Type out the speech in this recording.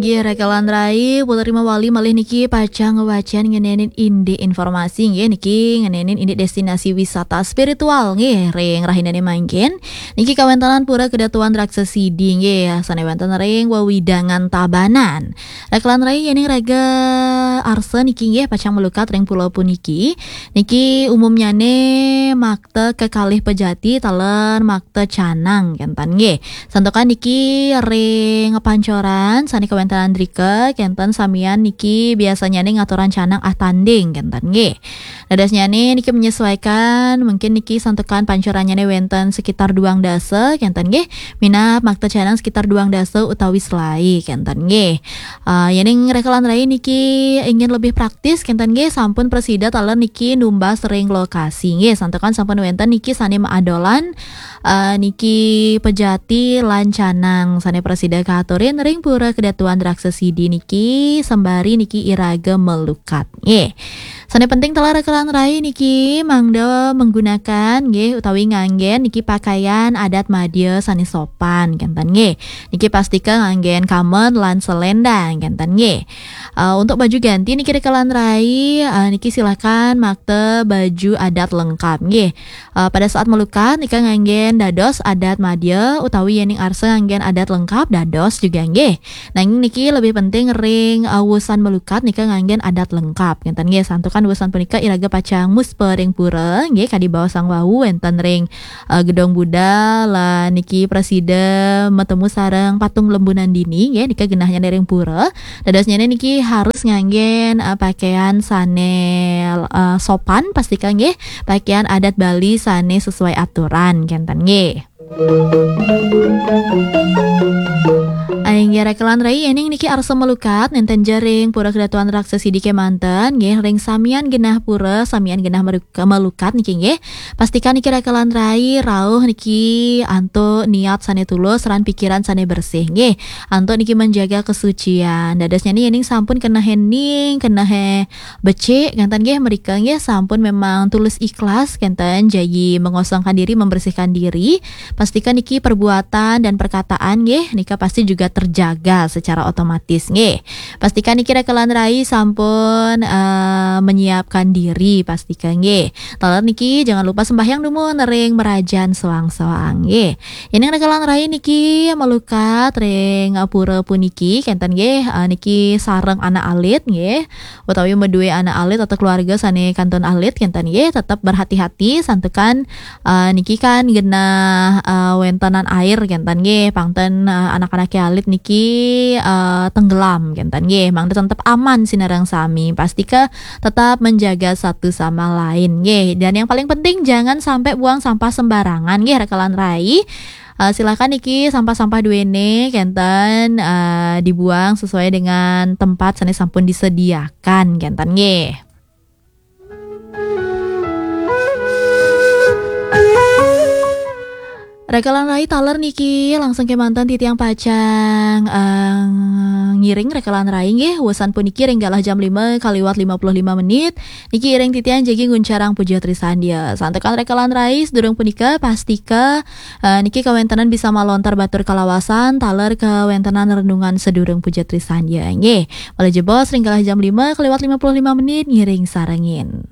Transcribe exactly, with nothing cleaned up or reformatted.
Iya, Raka lan Rai, putarima wali malih niki pacang ngwacén ngenénin indik informasi nggih niki ngenénin indik destinasi wisata spiritual nggih ring rahinane mangkin. Niki kawéntenan Pura Kedatuan Raksasidi nggih sané wénten ring wewidangan Tabanan. Raka lan Rai, yéning raga arsa niki nggih pacang melukat ring pulo puniki. Niki umumnyane makta kekalih pejati taler makta canang kénten nggih. Santukan niki ring pancoran sané kawéntenan drika kénten samian niki biasanyane ngaturang canang ah tanding kénten nggih. Dadosnyane niki menyesuaikan, mungkin niki santukan pancorannyane wénten sekitar duang dasa kénten nggih. Minab makta canang sekitar duang dasa utawi selae kénten nggih. Ah, yéning Raka lan Rai niki ingin lebih praktis kénten nggih, sampun prasida taler niki numbas ring lokasi nggih. Santukan sampun wénten niki sané maadolan, ah, niki pejati lan canang sané prasida kaaturin ring Pura Kedatuan Raksasidi niki sembari niki iraga melukat nggih. Sané penting taler Raka lan Rai niki mangda menggunakan nggih utawi nganggén niki pakaian adat madya sané sopan kénten nggih. Niki pastika nganggén kamen lan selendang kénten nggih. Eh, untuk baju ganti niki Raka lan Rai, eh, niki silakan makta baju adat lengkap nggih. Eh, pada saat melukat nika nganggén dados adat madya utawi yéning arsa nganggén adat lengkap dados juga nggih. Nanging niki lebih penting ring, eh, wusan melukat nika nganggén adat lengkap kénten nggih. Santukan wusan punika iraga pacang muspa ring pura nggih, kadi baos sang wau wénten ring eh, Gedong Buddha lan niki prasida matemu sareng patung Lembu Nandini nggih, nika genahnya ring pura. Dadosnyane niki harus nganggén, eh, pakaian sané, eh, sopan pastika nggih, pakaian adat Bali sané sesuai aturan kénten nggih. Inggih Raka lan Rai, yéning niki arsa melukat nénten ja ring Pura Kedatuan Raksasidi kémanten nggih, ring samian genah pura, samian genah meru-, melukat niki nggih. Pastikan niki Raka lan Rai rauh niki antuk niat sané tulus lan pikiran sané bersih nggih. Antuk niki menjaga kesucian. Dadosnyane yéning sampun keneh ening, keneh becik ngenten nggih, mrika nggih sampun memang tulus ikhlas ngenten jagi mengosongkan diri, membersihkan diri. Pastikan niki perbuatan dan perkataan nggih nika pasti juga terjaga secara otomatis nggih. Pastikan niki Raka lan Rai sampun, eh, menyiapkan diri, pastikan nggih. Taler niki jangan lupa sembahyang dumun ring merajan soang-soang nggih. Yéning Raka lan Rai niki melukat ring pura puniki kénten nggih, eh, niki sareng anak alit nggih, utawi madue anak alit atau keluarga sané kantun alit kénten nggih, tetep berhati-hati santukan, eh, niki kan genah, eh, wéntenan air kénten nggih, pang ten, eh, anak-anak alit niki, eh, tenggelam kénten nggih, mangda tetep aman sinareng sami. Pastika tetap menjaga satu sama lain nggih. Dan yang paling penting jangan sampai buang sampah sembarangan nggih Raka lan Rai. Eh, silakan niki sampah-sampah duene kenten, eh, dibuang sesuai dengan tempat sané sampun disediakan kenten nggih. Raka lan Rai, taler niki langsung kemanten titiang pacang, eh, ngiring Raka lan Rai nggih. Wusan puniki ring galah jam lima kaliwat lima puluh lima menit. Niki iring titiang jagi nguncarang puja trisandia. Santukan Raka lan Rai, sedurung punika pastika, eh, niki kawéntenan bisa malontar batur kalawasan taler kawéntenan renungan sedurung puja trisandia nggih. Malih jebos ring galah jam lima kaliwat lima puluh lima menit, ngiring sarengin.